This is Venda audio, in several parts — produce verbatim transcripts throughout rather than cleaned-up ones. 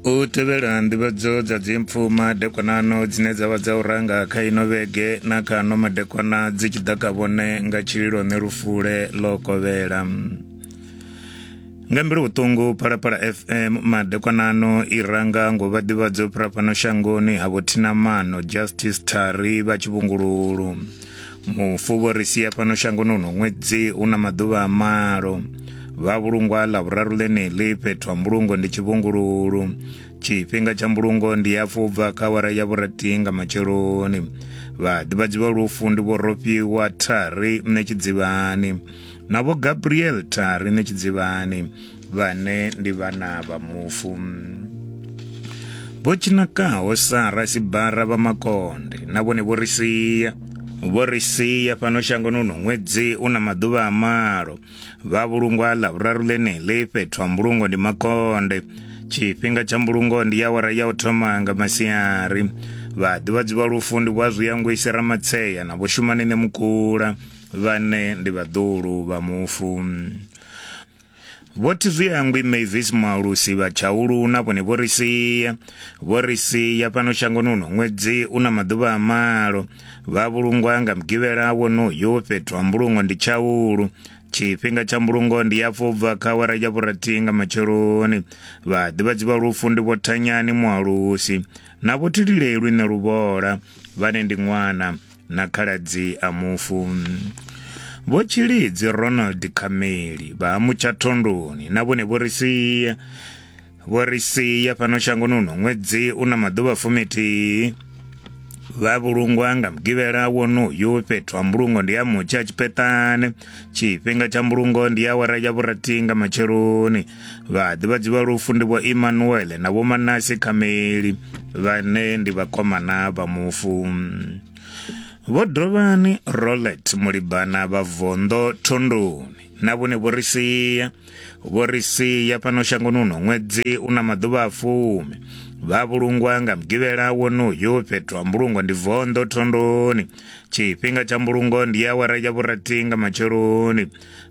U tevhela nḓivhadzo dza dzimpfu madekwanano dzine dza vha dza u ranga kha ino vhege na kha ano madekwana dzi tshi ḓa kha vhone nga tshililo ṋe lufule ḽo kovhela. Nga mbilu vhuṱungu Phalaphala F M madekwanano i ranga ngo vha ḓivhadzo fhira fhano shangoni ha vho Thinamano Justice Thari vha Tshivhungululu. Mufu vho ri sia fhano shangoni uno ṅwedzi u na maḓuvha a malo. Vha vhulungwa ḽa vhuraru ḽeneḽi fhethu ha mbulungo ndi Tshivhungululu. Tshifhinga tsha mbulungo ndi hafhu bva kha awara ya vhurathi nga matsheloni. Vhaḓivhadzi vha lufu ndi vho Rofhiwa Thari Ṋetshidzivhani na vho Gabriel Thari Ṋetshidzivhani vhane ndi vhana vha mufu. Vho Tshinakaho Sara Sibara vha Makonde na vhone vho ri sia vho ri sia fhano shangoni uno ṅwedzi u na maḓuvha a malo. Vha vhulungwa ḽa vhuraru ḽeneḽi fhethu ha mbulungo ndi Makonde. Tshifhinga tsha mbulungo ndi awara ya u thoma nga masiari. Vhaḓivhadzi vha lufu ndi vho Azwiyangwisi Ramatseya na vho Shumani Ṋemukula vhane ndi vhaḓuhulu vha mufu. Vho Thizwiyangwi Mavis Mualusi vha Tshaulu na vhone vho ri sia vho ri sia fhano shangoni uno ṅwedzi u na maḓuvha a malo. Vha vhulungwa nga mugivhela wonoyu fhethu ha mbulungo ndi Tshaulu. Tshifhinga tsha mbulungo ndi hafhu bva kha awara ya vhurathi nga matsheloni. Vhaḓivhadzi vha lufu ndi vho Thanyani Mualusi na vho Thililelwi Ṋeluvhola vhane ndi ṅwana na khaladzi a mufu. Vho Tshilidzi Ronald Khameli vha Mutshathondoni na vhone vho ri sia vho ri sia fhano shangoni uno ṅwedzi u na maḓuvha fumithihi. Vha vhulungwa nga mugivhela wonoyu fhethu ha mbulungo ndi ya Mutsha Tshipeṱane. Tshifhinga tsha mbulungo ndi awara ya vhurathi nga matsheloni. Vhaḓivhadzi vha lufu ndi vho Emmanuel na vho Manasi Khameli vhane ndi vhakomana vha mufu. Vho Dovhani Rolet Mulibana vha Vondo Thondoni na vhone vho ri sia vho ri sia fhano shangoni uno ṅwedzi u na maḓuvha a fumi. Vha vhulungwa nga mugivhela wonoyu fhethu ha mbulungo ndi Vondo Thondoni. Tshifhinga tsha mbulungo ndi awara ya vhurathi nga matsheloni.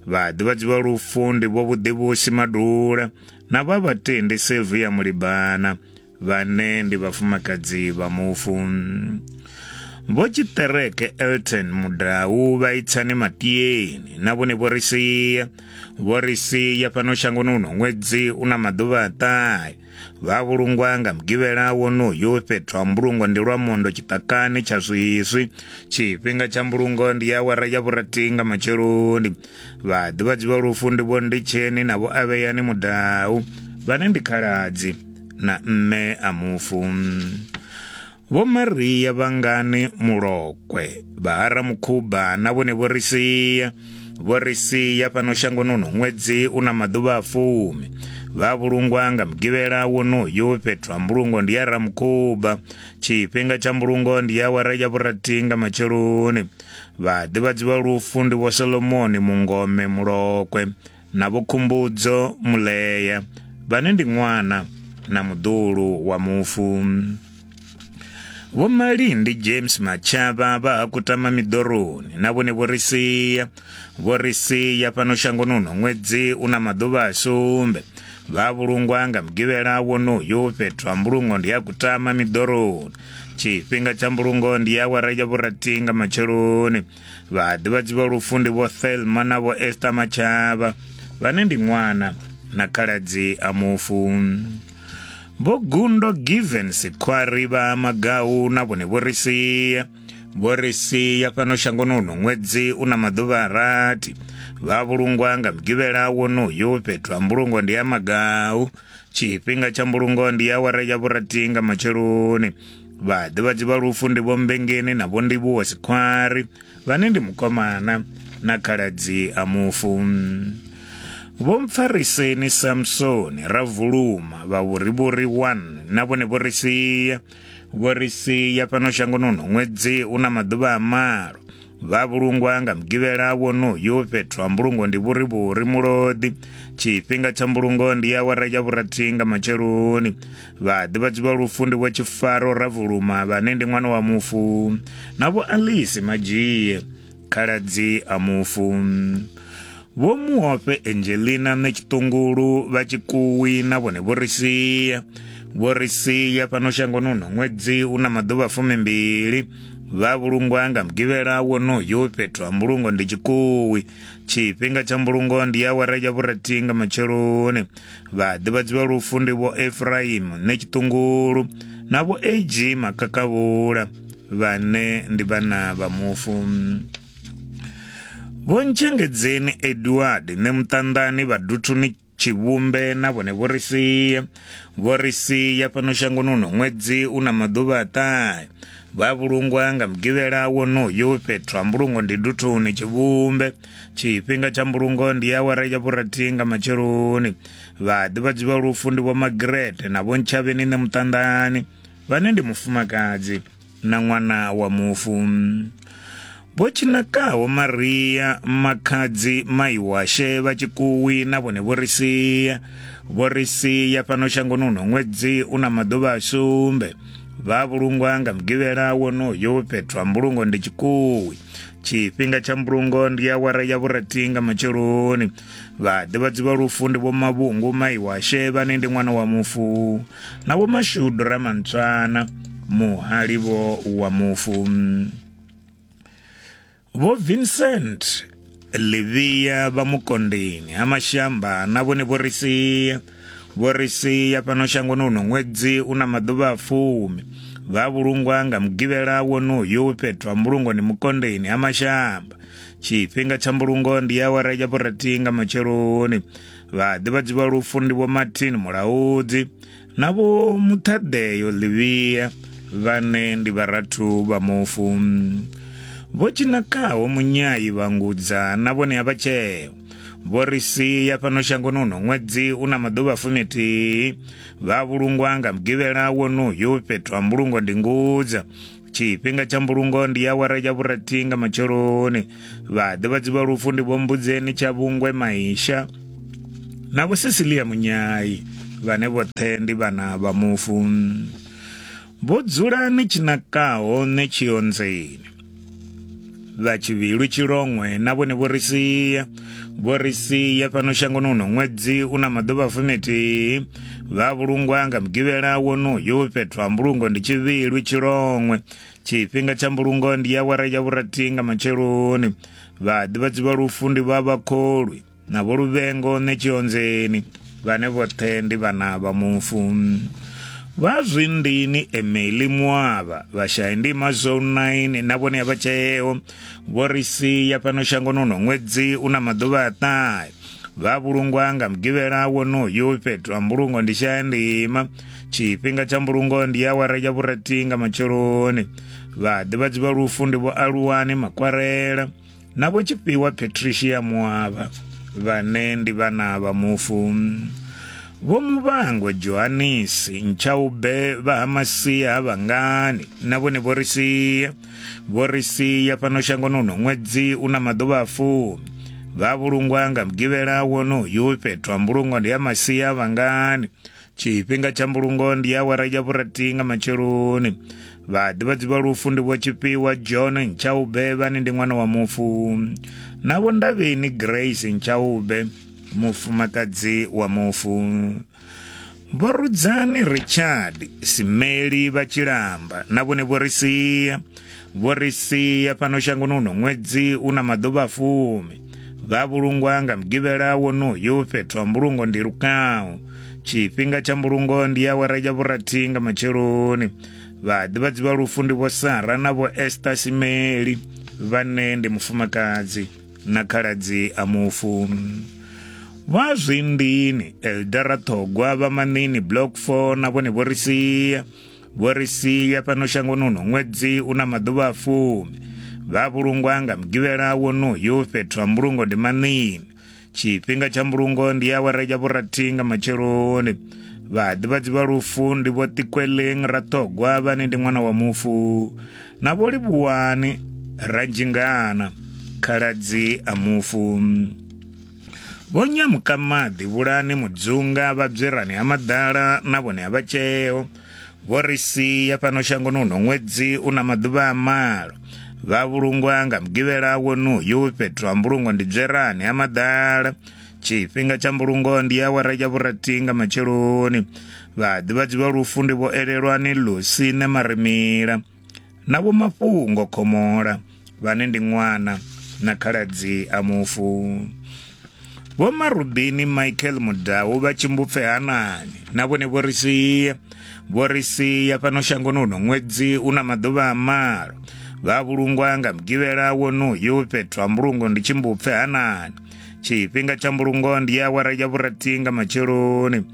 Vhaḓivhadzi vha lufu ndi vho Vhuḓivhusi Madula na vha Vhatendi Sylvia Mulibana vhane ndi vhafumakadzi vha mufu. Vho Tshiṱereke Elton Mudau vha Itsani Matieni na vhone vho ri sia vho ri sia fhano shangoni uno ṅwedzi u na maḓuvha a ṱahe. Vha vhulungwa nga mugivhela wonoyu fhethu ha mbulungo ndi Lwamondo tshiṱakani tsha Swiswi. Tshifhinga tsha mbulungo ndi awara ya vhurathi nga matsheloni. Vhaḓivhadzi vha lufu ndi vho Nditsheni na vho Avheyani Mudau vhane ndi khaladzi na mme a mufu. Vho Maria Vhangani Mulokwe vha Haramukhuba na vhone vho ri sia vho ri sia fhano shangoni uno ṅwedzi u na maḓuvha a fumi. Vha vhulungwa nga mugivhela wonoyu fhethu ha mbulungo ndi ya Ramukhuba. Tshifhinga tsha mbulungo ndi awara ya vhurathi nga matsheloni. Vhaḓivhadzi vha lufu ndi vho Solomoni Mungome Mulokwe na vho Khumbudzo Muleya vhane ndi ṅwana na muḓuhulu wa mufu. Vho Malindi James Machavha vha ha Kutama Miḓoroni na vhone vho ri sia vho ri sia fhano shangoni uno ṅwedzi u na maḓuvha a sumbe. Vha vhulungwa nga mugivhela wonoyu fhethu ha mbulungo ndi ya Kutama Miḓoroni. Tshifhinga tsha mbulungo ndi awara ya vhurathi nga matsheloni. Vhaḓivhadzi vha lufu ndi vho Thelma na vho Esther Machavha vhane ndi ṅwana na khaladzi a mufu. Vho Gundo Given Sikhwari vha Magau na vhone vho ri sia vho ri sia fhano shangoni uno ṅwedzi u na maḓuvha a rathi. Vha vhulungwa nga mugivhela wonoyu fhethu ha mbulungo ndi ya Magau. Tshifhinga tsha mbulungo ndi awara ya vhurathi nga matsheloni. Vhaḓivhadzi vha lufu ndi vho Mbengeni na vho Ndivhuwo Sikhwari vhane ndi mukomana na khaladzi a mufu. Vho Mpfariseni Samsoni Ravuluma vha Vhurivhuri one na vhone vho ri sia vho ri sia fhano shangoni uno ṅwedzi u na maḓuvha a malo. Vha vhulungwa nga mugivhela wonoyu fhethu ha mbulungo ndi Vhurivhuri Mulodi. Tshifhinga tsha mbulungo ndi awara ya vhurathi nga matsheloni. Vhaḓivhadzi vha lufu ndi vho Tshifaro Ravuluma vhane ndi ṅwana wa mufu na vho Alice Madzhie khaladzi a mufu. Vho Muofhe Angelina Ṋetshiṱungulu vha Tshikuwi na vhone vho ri sia. Vho ri sia fhano shangoni uno ṅwedzi u na maḓuvha fumimbili. Vha vhulungwa nga mugivhela wonoyu fhethu ha mbulungo ndi Tshikuwi. Tshifhinga tsha mbulungo ndi awara ya vhurathi nga matsheloni. Vhaḓivhadzi vha lufu ndi Vho Ephraim Netshiṱungulu na Vho A G Makakavhula, vhane ndi vhana vha mufu. Vho Ntshengedzeni Edward Nemuṱanḓani vha Duthuni Tshivhumbe na vhone vho ri sia. Vho ri sia fhano shangoni uno ṅwedzi u na maḓuvha a ṱahe. Vha vhulungwa nga mugivhela wonoyu fhethu ha mbulungo ndi Duthuni Tshivhumbe. Tshifhinga tsha mbulungo ndi awara ya vhurathi nga matsheloni. Vhaḓivhadzi vha lufu ndi Vho Margaret na Vho Ntshavheni Nemuṱanḓani, vhane ndi mufumakadzi na ṅwana wa mufu. Vho Tshinakaho Maria Makhadzi Maiwashe vha Tshikuwi na vhone vho ri sia. Vho ri sia fhano shangoni uno ṅwedzi u na maḓuvha a sumbe. Vha vhulungwa nga mugivhela wonoyu fhethu ha mbulungo ndi Tshikuwi. Tshifhinga tsha mbulungo ndi awara ya vhurathi nga matsheloni. Vhaḓivhadzi vha lufu ndi Vho Mavhungu Maiwashe, vhane ndi ṅwana wa mufu, na Vho Mashudu Ramantswana, muhalivo wa mufu. Vho Vincent Livia vha Mukondeni ha Mashamba na vhone vho ri sia. Vho ri sia fhano shangoni uno ṅwedzi u na maḓuvha a fumi. Vha vhulungwa nga mugivhela wonoyu fhethu ha mbulungo ndi Mukondeni ha Mashamba. Tshifhinga tsha mbulungo ndi awara ya vhurathi nga matsheloni. Vhaḓivhadzi vha lufu ndi Vho Martin Mulaudzi na Vho Muṱhaḓeyo Livia, vhane ndi vharathu vha mufu. Vho Tshinakaho Munyayi vha Ngudza na vhone a vha tsheo. Vho ri sia fhano shangoni uno ṅwedzi u na maḓuvha fumithihi. Vha vhulungwa nga mugivhela wonoyu fhethu ha mbulungo ndi Ngudza. Tshifhinga tsha mbulungo ndi awara ya vhurathi nga matsheloni. Vhaḓivhadzi vha lufu ndi Vho Mbudzeni Tshavhungwe Maisha na Vho Cecilia Munyayi, vhane vhoṱhe ndi vhana vha mufu. Vho Dzulani Tshinakaho Netshionzeni vha Tshivhilwi Tshilongwe na vhone vho ri sia. Vho ri sia fhano shangoni uno ṅwedzi u na maḓuvha fumithihi. Vha vhulungwa nga mugivhela wonoyu fhethu ha mbulungo ndi Tshivhilwi Tshilongwe. Tshifhinga tsha mbulungo ndi awara ya vhurathi nga matsheloni. Vhaḓivhadzi vha lufu ndi vha Vhakholwi na Vho Luvhengo Netshionzeni, vhane vhoṱhe ndi vhana vha mufu. Vha Zwindini Emily Muavha vha Shayandima Zone nine na vhone a vha tsheo. Vho ri sia fhano shangoni uno ṅwedzi u na maḓuvha a ṱahe. Vha vhulungwa nga mugivhela wonoyu fhethu ha mbulungo ndi Shayandima. Tshifhinga tsha mbulungo ndi awara ya vhurathi nga matsheloni. Vhaḓivhadzi vha lufu ndi Vho Aluwani Makwarela na Vho Tshifhiwa Patricia Muavha, vhane ndi vhana vha mufu. Vho Muvhango Johanisi Ntshaube vha ha Masia ha Vhangani na vhone vho ri sia. Vho ri sia fhano shangoni uno ṅwedzi u na maḓuvha a fumi. Vha vhulungwa nga mugivhela wonoyu fhethu ha mbulungo ndi ya Masia ha Vhangani. Tshifhinga tsha mbulungo ndi awara ya vhurathi nga matsheloni. Vhaḓivhadzi vha lufu ndi Vho Tshifhiwa John Ntshaube, vhane ndi ṅwana wa mufu, na Vho Ndavheni Grace Ntshaube, mufumakadzi wa mufu. Vho Rudzani Richard Simeli vha Tshilamba na vhone vho ri sia. Vho ri sia fhano shangoni uno ṅwedzi u na maḓuvha fumi. Vha vhulungwa nga mugivhela wonoyu fhethu ha mbulungo ndi Lukau. Tshifhinga tsha mbulungo ndi awara ya vhurathi nga matsheloni. Vhaḓivhadzi vha lufu ndi Vho Sara na Vho Esther Simeli, vhane ndi mufumakadzi na khaladzi a mufu. Vha Zwindini Eldara Thogwa vha Manini Block four na vhone vho ri sia. Vho ri sia fhano shangoni uno ṅwedzi u na maḓuvha a fumi. Vha vhulungwa nga mugivhela wonoyu fhethu ha mbulungo ndi Manini. Tshifhinga tsha mbulungo ndi awara ya vhurathi nga matsheloni. Vhaḓivhadzi vha lufu ndi Vho Tikweleng Rathogwa, vhane ndi ṅwana wa mufu, na Vho Livhuwani Ranzhingana, khaladzi a mufu. Vho Nyamukamaḓi Vhulani Mudzunga vha Bzwerani ha Maḓala na vhone a vha tsheo. Vho ri sia fhano shangoni uno ṅwedzi u na maḓuvha a malo. Vha vhulungwa nga mugivhela wonoyu fhethu ha mbulungo ndi Bzwerani ha Maḓala. Tshifhinga tsha mbulungo ndi awara ya vhurathi nga matsheloni. Vhaḓivhadzi vha lufu ndi Vho Elelwani Lusine Marimila na Vho Mafhungo Khomola, vhane ndi ṅwana na khaladzi a mufu. Vho Marubini Michael Mudau vha Tshimbupfe Hanani na vhone vho ri sia vho ri sia fhano shangoni uno ṅwedzi u na maḓuvha a malo. Vha vhulungwa nga mugivhela wonoyu fhethu ha mbulungo ndi Tshimbupfe Hanani. Tshifhinga tsha mbulungo ndi awara ya vhurathi nga matsheloni.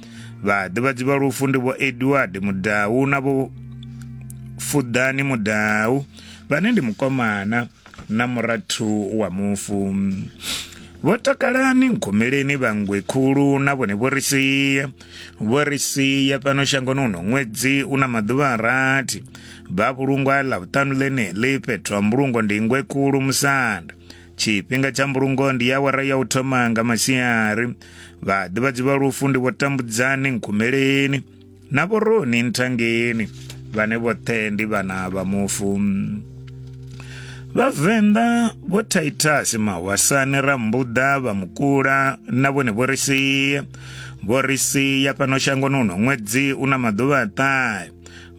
Vhaḓivhadzi vha lufu ndi Vho Edward Mudau na Vho Fuḓani Mudau, vhane ndi mukomana na murathu wa mufu. Vho Takalani Nkhumeleni vha Ngwekhulu na vhone vho ri sia vho ri sia fhano shangoni uno ṅwedzi u na maḓuvha a rathi. Vha vhulungwa ḽavhuṱanu ḽeneḽi fhethu ha mbulungo ndi Ngwekhulu Musanda. Tshifhinga tsha mbulungo ndi awara ya u thoma nga masiari. Vhaḓivhadzi vha lufu ndi Vho Tambudzani Nkhumeleni na Vho Roni Nthangeni, vhane vhoṱhe ndi vhana vha mufu. Vhavenḓa Vho Titus Mahwasane Rambuḓa vha Mukula na vhone vho ri sia vho ri sia fhano shangoni uno ṅwedzi u na maḓuvha a ṱahe.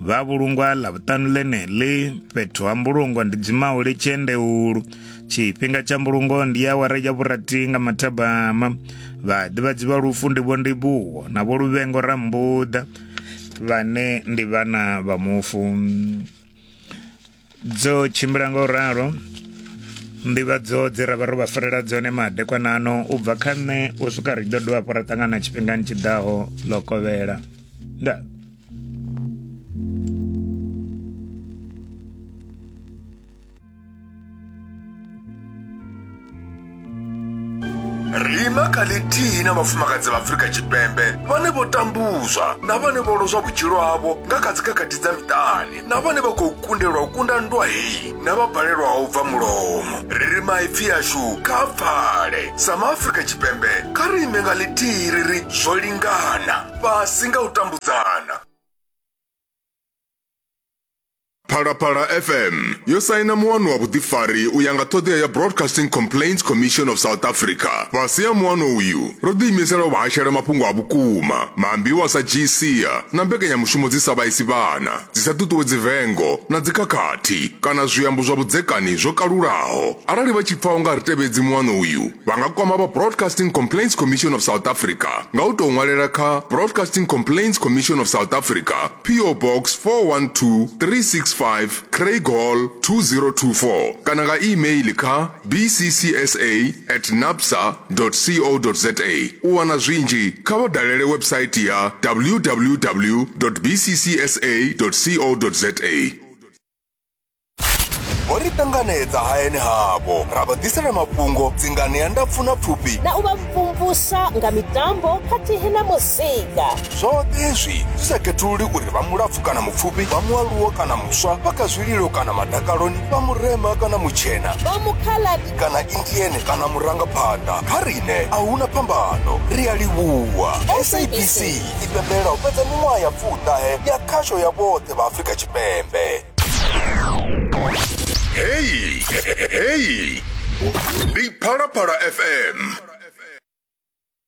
Vha vhulungwa ḽavhuṱanu ḽeneḽi fhethu ha mbulungo ndi Dzimauli Tshiendeulu. Tshifhinga tsha mbulungo ndi awara ya vhurathi nga mathabama. Vhaḓivhadzi vha lufu ndi Vho Ndivhuwo na Vho Luvhengo Rambuḓa, vhane ndi vhana vha mufu. Dzo tshimbila nga u ralo nḓivhadzo dze ra vha ro vha farela dzone madekwana ano u bva kha nṋe u swika ri ḓo dovha hafhu ra ṱangana tshifhingani tshiḓaho ḽo kovhela. Ndaa. Ri ima kha ḽithihi na vhafumakadzi vha Afrika Tshipembe vhane vho tambuzwa na vhane vho lozwa vhutshilo havho nga kha dzikhakhathi dza miṱani, na vhane vha khou kundelwa u kunda nndwa heyi na vha balelwaho u bva mulomo. Ri ri maipfi ashu kha pfale. Sa maAfrika Tshipembe kha ri ime nga ḽithihi ri ri zwo lingana, fhasi nga u tambudzana. Phalaphala F M yo saina muano wa vhuḓifari u ya nga ṱhoḓea ya Broadcasting Complaints Commission of South Africa. Fhasi ha muano uyu ro ḓiimisela u vha hashela mafhungo a vhukuma, maambiwa a sa dzhii sia na mbekanyamushumo dzi sa vhaisi vhana, dzi sa ṱuṱuwedzi vengo na dzikhakhathi kana zwiambo zwa vhudzekani zwo kalulaho. Arali vha tshi pfa u nga ri tevhedzi muano uyu, vha nga kwama vha Broadcasting Complaints Commission of South Africa nga u tou ṅwalela kha Broadcasting Complaints Commission of South Africa, P O Box four one two three six five, Craig Hall two zero two four kana nga email kha b c c s a at napsa dot co dot za. U wana zwinzhi kha vha dalele website ya w w w dot b c c s a dot co dot za. Vho ri ṱanganedza hayani havho, ra vha ḓisela mafhungo, dzinganea ndapfu na pfufhi, na u vha mvumvusa nga mitambo khathihi na muzika. Zwoṱhe hezwi zwi sa khethululi uri vha mulapfu kana mupfufhi, vha mualuwa kana muswa, vha kha zwililo kana madakaloni, vha murema kana mutshena, vha mukhaladi kana Indian kana murangaphanḓa. Kha riṋe a huna phambano, ri a livhuwa. S A B C i pembelela u fhedza miṅwaha ya fuṱahe ya khasho ya vhoṱhe vha Afrika Tshipembe. Hey, hey, ndi Phalaphala F M.